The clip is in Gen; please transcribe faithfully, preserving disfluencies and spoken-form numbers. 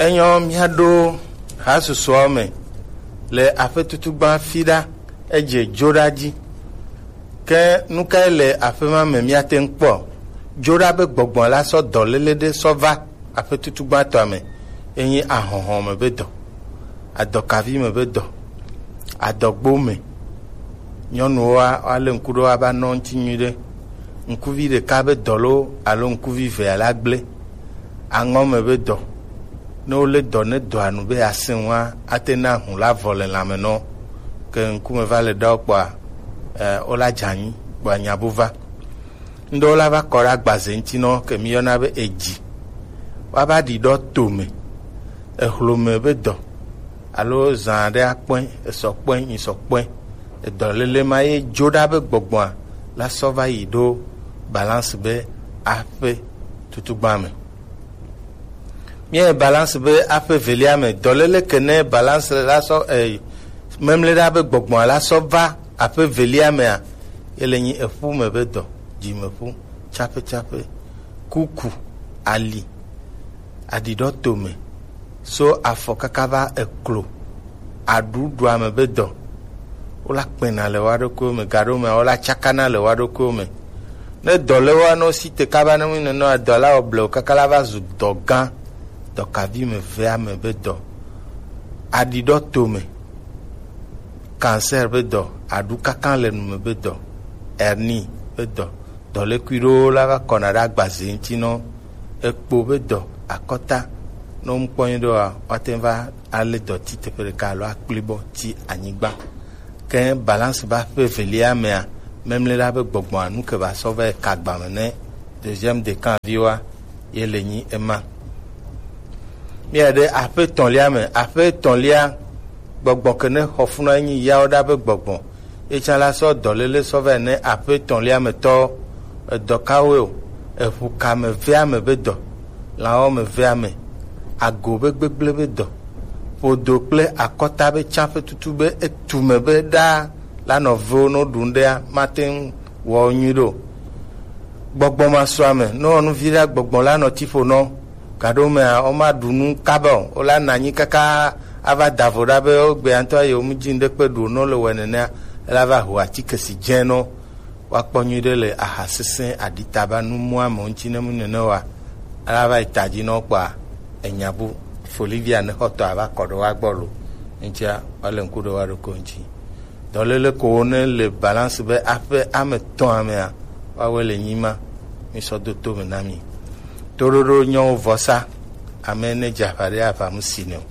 Enyɔ míaɖo hasusuɔ me le aƒe tutugba fi ɖa, edze dzoɖa dzi. Ke nu kae le aƒe ma me míate ŋu kpɔ? Dzoɖa be gbɔgbɔ la sɔ dɔléle ɖe sɔ va aƒe tutugbatɔa me, enyi ahɔhɔ me be dɔ, adɔkavi me be dɔ, adɔgbo me. Nyɔnuwoa, woalé ŋku ɖo woava nɔ ŋuti nyuiɖe. Ŋkuvi ɖeka be dɔ loo alo ŋkuvi evea la gblẽ. Aŋɔ me be dɔ. Ne wolé dɔ ne dɔa nu be yeasẽ ŋua, ate na hu la vɔ le lãme nɔ. Ke ŋkume va le ɖa wo kpɔa, e, wola dze anyi kpɔa nya bu va. Ŋɖewo la va kɔ ɖe agbaze ŋuti nɔ ke míyɔna be edzi. Woava ɖi ɖɔ tome, ehlome be dɔ, alo zã aɖe akpɔe, esɔ kpɔe, nyisɔ kpɔe. Edɔléle ma ye dzoɖa be gbɔgbɔa la sɔ va yi ɖo balance be aƒe tutugba me. Míayi balance be aƒe evelia me, dɔléle ke ne balance la sɔ, eh, memleɖa be gbɔgbɔa la sɔ va aƒe evelia mea, ye le nyi eƒu me be dɔ, dzimeƒu, tsaƒetsaƒe, kuku, ali, aɖiɖɔ tome, so afɔ kaka va eklo, aɖuɖua me be dɔ. Wola kpɛna le wa ɖokuiwo me, gaɖo mea, wola tsakana le wa ɖokuiwo me. Ne dɔ le wa nɔ si te kaba ne mu nene wa, dɔ la wɔ blewu kaka la va zu dɔ gã, dɔkavi me vea me be dɔ. Aɖiɖɔ tome, cancer be dɔ, aɖu kaka le nu me be dɔ, hernie be dɔ, dɔlékui ɖewo la va kɔna ɖe agbaze ŋuti nɔ. Ekpo be dɔ, akɔta, ne womkpɔ nyuie ɖoa, woate ŋu va alé dɔ ti teƒe ɖeka alo akpli bɔ ti anyigba. Ke balance ba ƒe evelia mea, memle la be gbɔgbɔa nu ke va sɔ va yi ka agba me ne deuxième décan viwa ye le nyi ema. Mía ɖe aƒe etɔ̃lia me, aƒe etɔ̃lia gbɔgbɔ ke ne xɔ funɔ enyi yawo ɖa be gbɔgbɔ. Etsã la sɔ dɔléle sɔ vɛ ne aƒe etɔ̃lia me tɔ, edɔ kawoe o, eʋu ka me vea me be dɔ, lãwo me vea me, ago be gbegblẽ be dɔ, ƒodo kple akɔta be tsã ƒe tutu be etu me be ɖaa la nɔviwo no ɖu ŋɖea mate ŋu wɔ nyui ɖo. Gbɔgbɔ ma sua me, no nu vi ɖa gbɔgbɔ la nɔ tiƒo nɔ. Gaɖo mea, woma ɖu nu kaba o. Wola na anyi kaka ava da vo ɖa be wogbea ŋutɔ yewo mu dzi ŋɖe kpe ɖu no le wɔ nenea, ela va ho atike si dze no. Woakpɔ nyui ɖe le aha sesẽ aɖitaba nu mua me ŋuti ne mu nene wa. Ela va yi ta dzi no kpɔa, enya bu folivia ne xɔtɔ ava kɔ ɖe wa gbɔ lo. Ŋutia, wale ŋku ɖe wa ɖokui ŋuti. Dɔléle ko ne le balance be aƒe ame tɔ̃a mea, woawoe le nyi ma. Mi sɔ do to me na mi. Toɖoɖo nyɔwo vɔsa, ame ne dze aʋa ɖe aʋa mu si ne o.